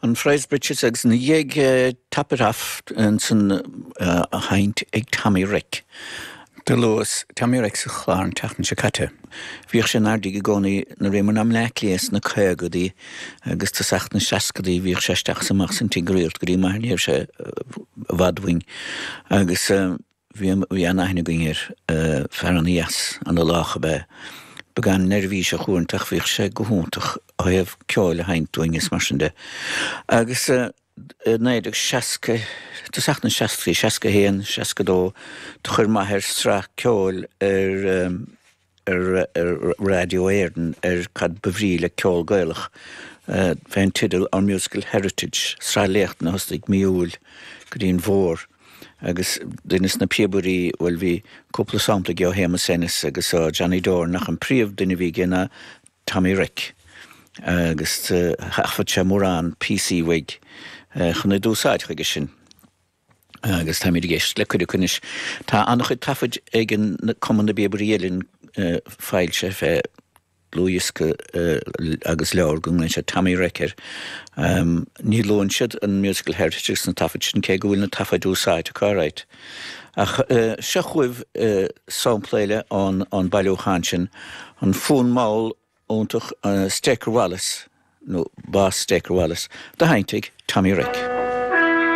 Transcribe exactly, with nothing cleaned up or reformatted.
An Friars Bridges agus ina dhiaidh Top It Off ansan á sheinnt ag Tommy Reck. Do luas Tommy Reck sa chlár an tseachtain seo caite. Bhíodh sé in Ardagh i gcónaí nuair a bhíomar i mBleá Cliath sna caogadaí agus tosach na seascadaí bhíodh sé isteach is amach san tigh go rialta go dtí maith ní raibh sé i bhfad uainn agus bhí bhí an-aithne againn air, fear ana-dheas, ana-lách ab ea. Beagán neirbhíseach uaireanta ach bhíodh sé go hiontach ó thaobh ceoil a sheinnt dúinn is mar sin de. Agus i naoi déag seasca, tosach na seascaidí, seasca a haon, seasca a dó, do chuir m'athair sraith ceoil ar ar ar Raidió Éireann ar cad ba bhrí le ceol Gaelach fén teideal Our Musical Heritage, sraith léachtanna a thosnaigh mí Iúil go dtí an bhfómhar. Agus duine de na píobairí, bhuel bhí cúpla sampla aige ó Shéamus Ennis agus ó Johnny Doran ach an príomh-duine a bhí aige ná Tommy Reck. Agus thaifead sé mórán píosaí uaidh chun iad d'úsáid chuige sin. Agus táimid ag éisteacht le cuid acu anois. Tá an-chuid taifid ag an Cumann na bPíobairí Uilleann foilsithe fé dhlúthdhiosca agus leabhar go nglaonn siad Tommy Reck air. Ní luann siad an Musical Heritage sna taifid sin cé go bhfuil na taifid úsáidte acu alright. Ach seo chugaibh sampla eile ón bailiúchán sin, an fonn mall iontach Staker Wallace, nó Boss Staker Wallace, do sheinnt ag Tommy Reck.